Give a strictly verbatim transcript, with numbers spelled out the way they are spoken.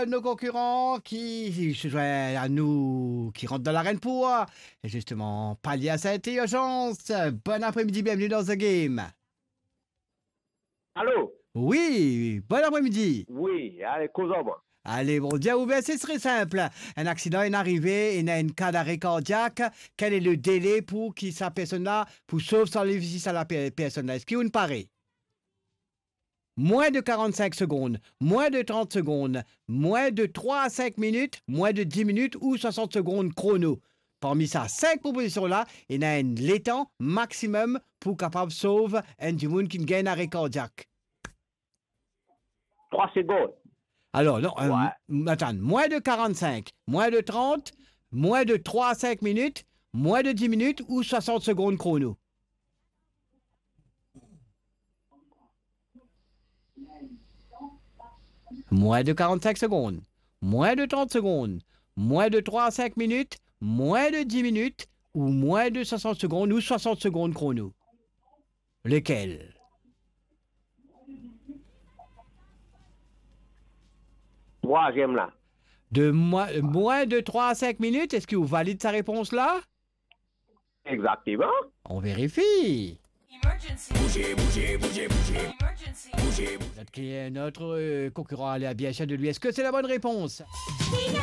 Nos konkiran ki swinn a nou, ki rant dan larenn pou, zisteman, palie a set irzans. Bon apremidi, bienveni dan The Game. Alo? Wi, bon apremidi. Wi, ale, koz ar mwa. Ale, Bondie ouver, se tre sinp. Enn aksidan inn arive, ena enn ka d'are kardiak. Quel est le délai pour ki sa personn la, pou sov sa lavi sa la per-, personn la? Eski ou pare? Moins de quarante-cinq secondes, moins de trente secondes, moins de trois à cinq minutes, moins de dix minutes ou soixante secondes chrono. Parmi sa sink propozision la, ena enn letan maximum pou kapav sov enn dimoun ki gagn are kardiak. Trwa segond. Alors, non, euh, ouais. Attends, moins de quarante-cinq, moins de trente, moins de trois à cinq minutes, moins de dix minutes ou soixante secondes chrono? Moins de quarante-cinq secondes, moins de trente secondes, moins de trois à cinq minutes, moins de dix minutes ou moins de soixante secondes ou soixante secondes chrono. Lequel? Trwaziem la. De moins, moins de trois à cinq minutes, eski ou valid sa repons la? Exactement. On vérifie. Emergency. Bouge, bouge, bouge, bouge. Emergency. Bouge, bouge. Peut-être qu'il y a un autre, euh, concurrent à aller à bien sûr de lui. Est-ce que c'est la bonne réponse?